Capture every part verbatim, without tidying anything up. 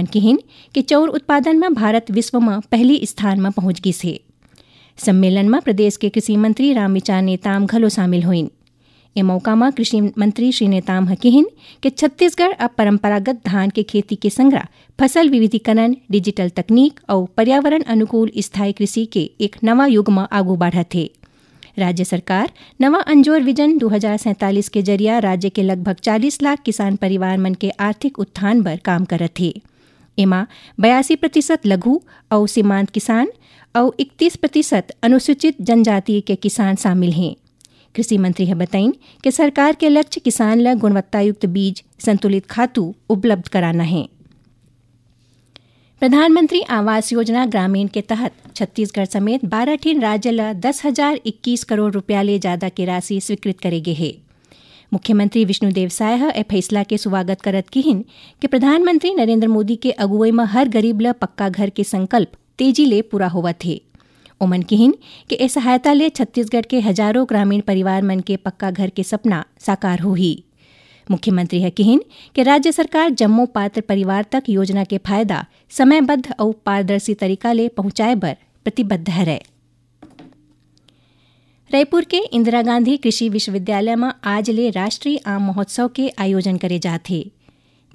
किहिन कि चौर उत्पादन म भारत विश्व म पहली स्थान म पहुंच गिस हे। सम्मेलन म प्रदेश के कृषि मंत्री रामविचार नेताम घलो शामिल होइन। ए मौका म कृषि मंत्री श्री नेताम ह किहिन कि छत्तीसगढ़ अब परंपरागत धान के खेती के संगरा फसल विविधीकरण, डिजिटल तकनीक अउ पर्यावरण अनुकूल स्थायी कृषि के एक नवा युग म आगू बढ़त हे। राज्य सरकार नवा अंजोर विजन दू हजार सैंतालीस के जरिया राज्य के लगभग चालीस लाख किसान परिवार मन के आर्थिक उत्थान बर काम करत हे। एमा बयासी प्रतिशत लघु अउ सीमांत किसान अउ इकतीस प्रतिशत अनुसूचित जनजाति के किसान शामिल हें। कृषि मंत्री ह बताइन कि सरकार के लक्ष्य किसान ल गुणवत्तायुक्त बीज, संतुलित खातू उपलब्ध कराना हे। प्रधानमंत्री आवास योजना ग्रामीण के तहत छत्तीसगढ़ समेत बारह ठिन राज्य ल दस हजार इक्कीस करोड़ रुपया ले जादा के राशि स्वीकृत करे गे हे। मुख्यमंत्री विष्णुदेव साय ह ए फैसला के स्वागत करत किहिन कि प्रधानमंत्री नरेंद्र मोदी के अगुवई म हर गरीब ल पक्का घर के संकल्प तेजी ले पूरा होवत हे। ओमन किहिन कि ए सहायता ले छत्तीसगढ़ के हजारों ग्रामीण परिवार मन के पक्का घर के सपना साकार होही। मुख्यमंत्री ह किहिन कि राज्य सरकार जम्मो पात्र परिवार तक योजना के फायदा समयबद्ध अउ पारदर्शी तरीका ले पहुंचाए बर प्रतिबद्ध हरय। रायपुर के इंदिरा गांधी कृषि विश्वविद्यालय म आज ले राष्ट्रीय आम महोत्सव के आयोजन करे जात हे।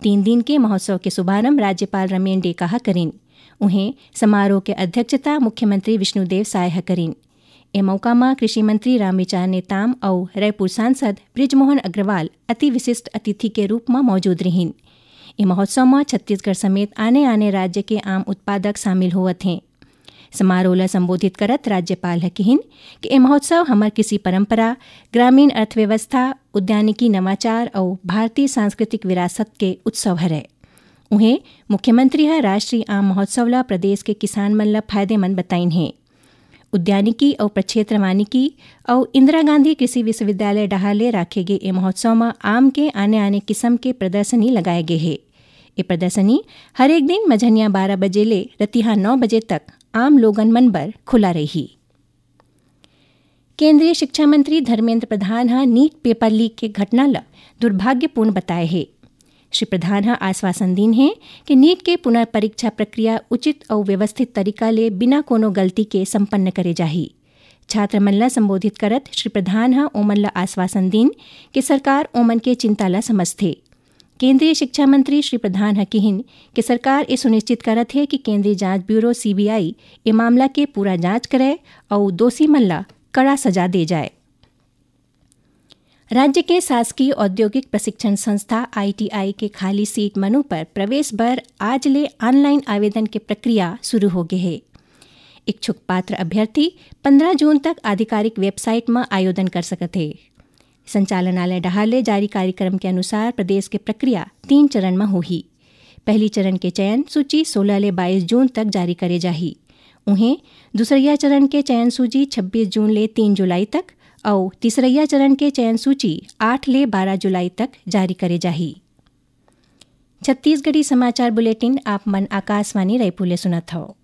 तीन दिन के महोत्सव के शुभारंभ राज्यपाल रमेन डेका ह करिन। उहें, समारोह के अध्यक्षता मुख्यमंत्री विष्णुदेव साय ह करिन। ए मौका म कृषि मंत्री रामविचार नेताम अउ रायपुर सांसद बृजमोहन अग्रवाल अति विशिष्ट अतिथि के रूप म मौजूद रिहिन। ए महोत्सव म छत्तीसगढ़ समेत आने-आने राज्य के आम उत्पादक शामिल होवत हें। समारोह ल संबोधित करत राज्यपाल ह किहिन कि ए महोत्सव हमर कृषि परंपरा, ग्रामीण अर्थव्यवस्था, उद्यानिकी नवाचार अउ भारतीय सांस्कृतिक विरासत के उत्सव हरय। उहें, मुख्यमंत्री ह राष्ट्रीय आम महोत्सव ल प्रदेश के किसान मन ल फायदेमंद बताइन हे। उद्यानिकी अउ प्रक्षेत्र वानिकी अउ इंदिरा गांधी कृषि विश्वविद्यालय डहार ले राखे गे ए महोत्सव म आम के आने-आने किसम के प्रदर्शनी लगाए गे हे। ए प्रदर्शनी हरेक दिन मझनिया बारह बजे ले रतिहा नौ बजे तक आम लोगन मन बर खुला रही। केंद्रीय शिक्षा मंत्री धर्मेंद्र प्रधान ह नीट पेपर लीक के घटना ल दुर्भाग्यपूर्ण बताए हे। श्री प्रधान ह आश्वासन दीन हे कि नीट के पुनर्परीक्षा प्रक्रिया उचित अउ व्यवस्थित तरीका ले बिना कोनो गलती के संपन्न करे जाही। छात्र मन ल संबोधित करत श्री प्रधान ह ओमन ल आश्वासन दीन कि सरकार ओमन के चिंता ल समझथे। केंद्रीय शिक्षा मंत्री श्री प्रधान ह किहिन कि सरकार ए सुनिश्चित करत हे कि केंद्रीय जांच ब्यूरो, सीबीआई, ए मामला के पूरा जांच करय अउ दोषी मन ल कड़ा सजा दे जाए। राज्य के शासकीय औद्योगिक प्रशिक्षण संस्था, आईटीआई, के खाली सीट मनो पर प्रवेश बर आज ले ऑनलाइन आवेदन के प्रक्रिया शुरू हो गे हे। इच्छुक पात्र अभ्यर्थी पंद्रह जून तक आधिकारिक वेबसाइट म आवेदन कर सकत हे। संचालनालय डहार ले जारी कार्यक्रम के अनुसार प्रदेश के प्रक्रिया तीन चरण म होही। पहली चरण के चयन सूची सोलह ले बाईस जून तक जारी करे जाही। उहें, दूसरइया चरण के चयन सूची छब्बीस जून ले तीन जुलाई तक अउ तीसरइया चरण के चयन सूची आठ ले बारह जुलाई तक जारी करे जाही। छत्तीसगढ़ी समाचार बुलेटिन आप मन आकाशवाणी रायपुर ले सुनत हव।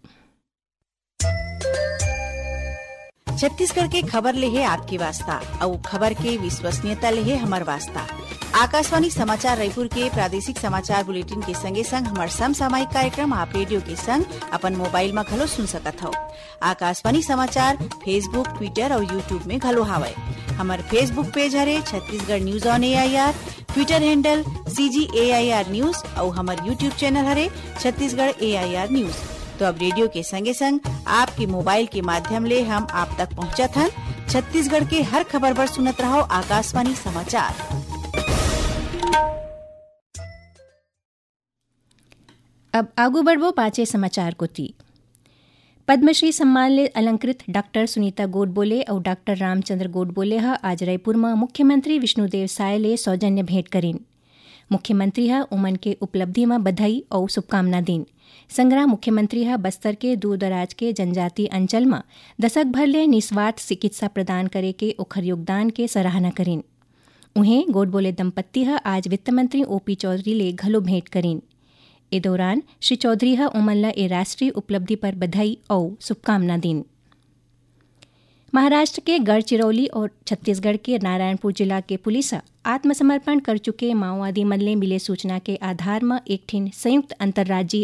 छत्तीसगढ़ के खबर ले हे आपके वास्ता, अउ खबर के विश्वसनीयता ले हे हमर वास्ता। आकाशवाणी समाचार रायपुर के प्रादेशिक समाचार बुलेटिन के संगे संग हमर समसामयिक कार्यक्रम आप रेडियो के संग अपन मोबाइल म घलो सुन सकत हव। आकाशवाणी समाचार Facebook, Twitter अउ YouTube में घलो हावय। हमर Facebook पेज हरे Chhattisgarh news on AIR, Twitter handle CG AIR news अउ हमर YouTube चैनल हरे छत्तीसगढ़ एआईआर न्यूज। तो अब रेडियो के संगे संग आपके मोबाइल के माध्यम ले हम आप तक पहुंचत हन। छत्तीसगढ़ के हर खबर बर सुनत रहव आकाशवाणी समाचार। अब आगू बढ़बो बांचे समाचार कोती। पद्मश्री सम्मान ले अलंकृत डॉक्टर सुनीता गोडबोले अउ डॉक्टर रामचंद्र गोडबोले ह आज रायपुर म मुख्यमंत्री विष्णुदेव साय ले सौजन्य भेंट करिन। मुख्यमंत्री ह ओमन के उपलब्धि म बधाई अउ शुभकामना दीन। संगरा मुख्यमंत्री ह बस्तर के दूर-दराज के जनजाति अंचल म दशक भर ले निस्वार्थ चिकित्सा प्रदान करे के ओखर योगदान के सराहना करिन। उहें, गोडबोले दंपत्ति ह आज वित्त मंत्री ओपी चौधरी ले घलो भेंट करिन। ए दौरान श्री चौधरी ह ओमन ल ए राष्ट्रीय उपलब्धि पर बधाई अउ शुभकामना दीन। महाराष्ट्र के गढ़चिरौली अउ छत्तीसगढ़ के नारायणपुर जिला के पुलिस ह आत्मसमर्पण कर चुके माओवादी मन ले मिले सूचना के आधार म एक ठिन संयुक्त अंतर्राज्यीय